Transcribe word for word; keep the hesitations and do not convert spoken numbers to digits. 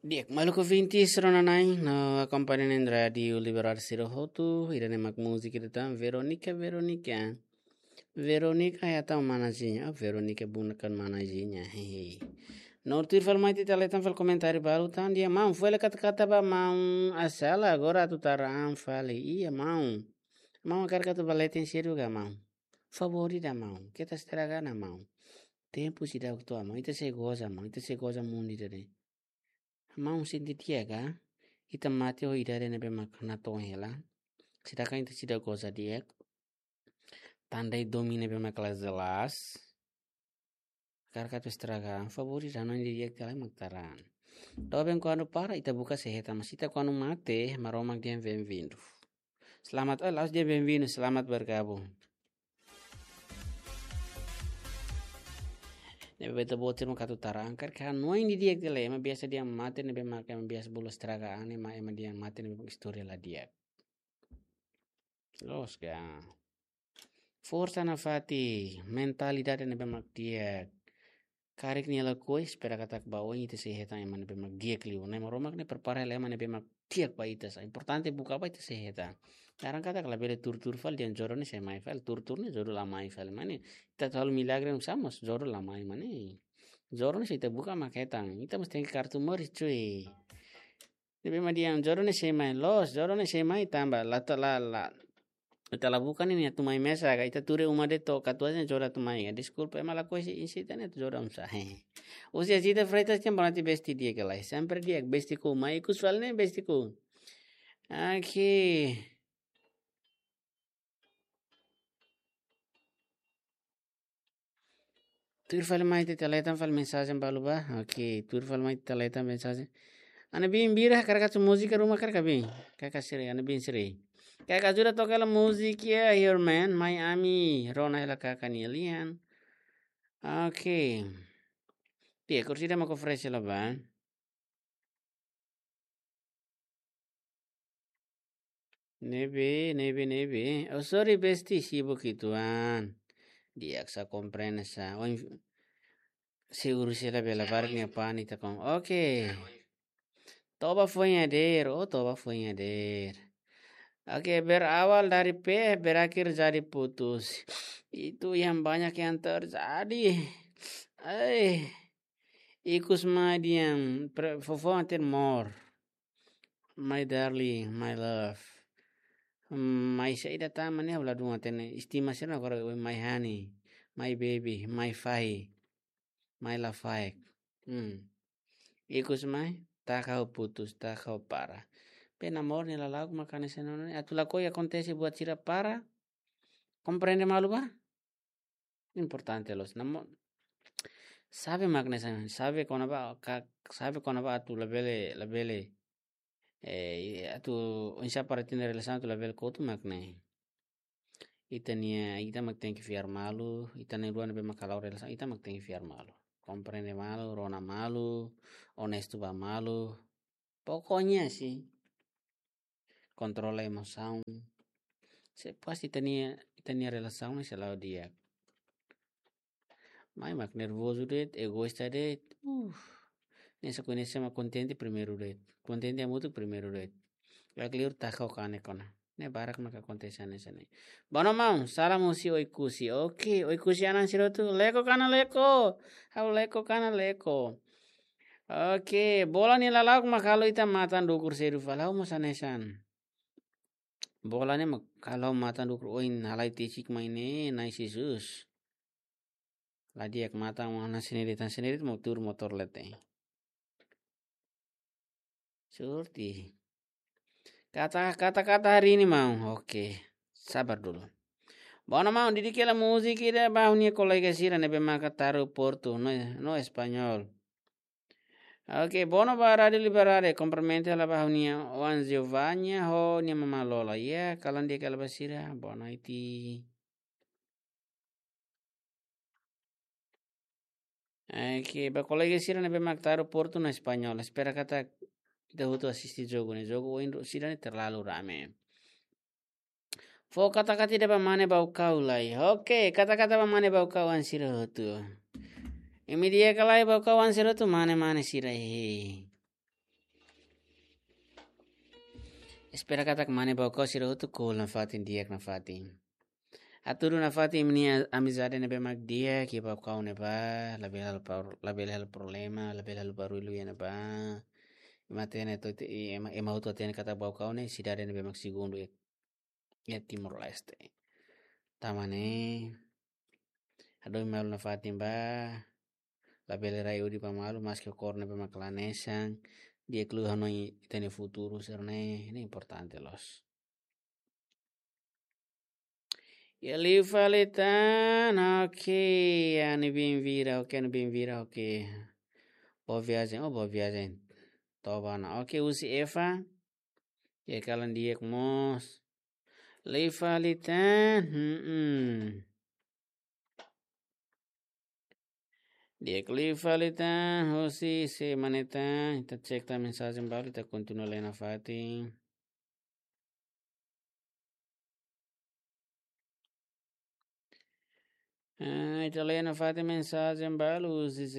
Di'ak, maluk ouvintes rona-na'in no akompaña iha rádiu Liberal sira hotu, ida-ne'e mak múzika ida tan, Veronica, Veronica. Veronica ya tan manazinha, oh, Veronica bukan manazinha, hehe. No tuir fali mai ita leten fali komentáriu balu tan, dehan maun, foin hela kata-kata ba maun Asela, agora atu tara an fali, iya maun. Maun hakarak atu ba leten sira ka maun. Favór ida maun, keta estraga ona maun. Tempu seidauk to'o maun, ita sei goza maun, ita sei goza mundu ida-ne'e. Maun sente di'ak ka, ita mate ho idade ne'ebé mak natoon hela. Sedangkan ita seidauk goza di'ak. Tanda domin ne'ebé mak la jelas. Hakarak atu estraga, favór ida, hanoin didi'ak ita lai mak tara an. Doben kuandu para, ita buka sei hetan, mas ita kuandu mate, Maromak dehan bem-vindo. Selamat, eh, la'ós dehan bem-vindo, selamat bergabung. Ne'ebé ita-boot sira mak atu tara an, hakarak hanoin didi'ak ita lai, ema biasa dehan mate ne'ebé mak, ema biasa bolu estraga an, ema, ema dehan mate ne'ebé mak istória la di'ak. Loos ka. Forsa nafatin, mentalidade ne'ebé mak di'ak. Karik nia lakohi, espera katak ba oin ita sei hetan ema ne'ebé mak di'ak liu. Ne'e Maromak ne'e prepara hela ema ne'ebé mak di'ak ba ita sa. Importante buka ba ita sei hetan. Laran katak labele tuur-tuur fali dehan jodoh ne'e sei mai fali, tuur-tuur ne'e jodoh la mai fali. Mane, ita atu halo milagre oinsá mós jodoh la mai, mane. Jodoh ne'e se ita buka mak hetan. Ita mós tenke kartu moris, cuy. Ne'ebé mak dehan jodoh ne'e sei mai, loos, jodoh ne'e sei mai tanba la ta la, la, ita la buka ne'e nia atu mai mesak ka, ita tuur iha uma de'it to'o katuas ne'e jodoh atu mai ka. Deskulpa, ema lakohi sei insi ita ne'e atu jodoh oinsá. Husi Zita Freitas dehan boa noite, besti di'ak ka lae. Sempre di'ak, besti ku, mai ikus fali ne'e besti ku. Oke. Tuir fali mai ita leten fali mensajen balu ba. Oke, tuir fali mai ita leten mensajen. Ana bin bira, hakarak atu múzika ruma hakarak ka bin. Kaka sira, ana bin sira. Kaka ajuda toka hela múzika ya, Your Man, mai ami rona hela kaka nia lian. Oke. Di'ak, kursi ida mak oferese hela ba. Ne'ebé, ne'ebé, ne'ebé. Oh, sorry, besti, sibuk uitoan. Di'ak, sa komprende sa. Oh, inf-, seguru sei la bele barak nia pani ta kon. Oke. Toba foin hadeer, oh, toba foin hadeer. Oke, berawal dari P, berakhir jadi putus. Itu yang banyak yang terjadi. Eh. Ikus mai dehan, pre-, fofo anter more. My darling, my love. Hmm, mai saida tan, mane ha'u ladún hatene, estima sira agora, my honey, my baby, my fahi, my lafaek. Hmm. Ikus mai, taka ha'u putus, taka ha'u para. Pena amor nia lala'ok mak hanesan ne'e, atu lakohi akontese buat sira para. Komprende malu ba? Importante loos. Namo, xave mak ne'e sa, xave kona-ba, ka, xave kona-ba atu labele, labele, eh, atu oinsá para ita-nia relasaun atu labele kotu mak ne'e. Ita-nia, ita mak tenke fiar malu, ita na'in-rua ne'ebé mak hala'o relasaun, ita mak tenke fiar malu. Komprende malu, rona malu, onestu ba malu. Pokoknya sih, kontrola emosaun. Se pas ita-nia, ita-nia relasaun ne'e sei la'o di'ak. Mai mak nervozu de'it, egoísta de'it. Uh. Ne'e sa koñese ema kontente primeiru de'it. Kontente hamutuk primeiru de'it. Lak liur taka ho kanek ona. Ne'e barak mak akontese hanesan ne'e. Bono maun, salam husi Oekusi. Oke, Oekusi-an sira hotu. Leko kana leko. Ha'u leko kana leko. Oke, bola nia lala'ok mak halo ita matan dukur sedu fali, ha'u mós hanesan. Bola ne'e mak halo matan dukur, oin halai tesik mai ne'e, Na'i Jesus. La di'ak matan, wana sendiri tan sendiri mau tuur motór leten. Sorte. Kata, kata-kata hari ini maun. Oke. Sabar dulu. Bono maun, didik hela múzika ida ba ha'u-nia kolega sira ne'ebé maka taru Portu, no, no Espanhol. Oke, bono ba Rádiu Liberdade, kumprimenta hela ba ha'u-nia oan Giovanna ho nia mama Lola. Ya, kalan di'ak hela ba sira, boa noite. Oke, ba kolega sira ne'ebé mak taru Portu no Espanhol. Espera katak ita hotu asiste jogu ne'e. Jogu ohin ro-, sira ne'e terlalu rame. Fó kata-kata ida ba mane Baucau lai. Oke, kata-kata ba mane Baucau-an sira hotu. Imi di'ak ka lae Baucau-an sira hotu, mane-mane sira he. Espera katak mane ba okos sira hotu ko'alia nafatin di'ak nafatin. Hatudu nafatin imi-nia amizade ne'ebé mak di'ak iha Baucau ne'ebá, labele halo par-, labele halo problema, labele halo barullu iha ne'ebá. Ema hatene hotu, ema, ema hotu hatene katak Baucau ne'e sidade ne'ebé mak segundu iha, iha Timor-Leste. Tanba ne'e, hadomi malu nafatin bá, labele rai udi ba malu, maski ho kór ne'ebé mak la hanesan, di'ak liu hanoin ita-nia futuru sira-ne'e, ne'e importante loos. Iha liu fali tan, ok, Ani Bienvira, ok, Ani Bienvira, ok. Boa viagem, oh, boa viagem. Toba ona, ok, husi Eva. Iha kalan di'ak mós. Liu fali tan, hmm. Di'ak liu fali tan, husi sé mane tan, ita cek tan mensajen balu, ita kontinua lee nafatin. Ah, ita lee nafatin mensajen balu, husi sé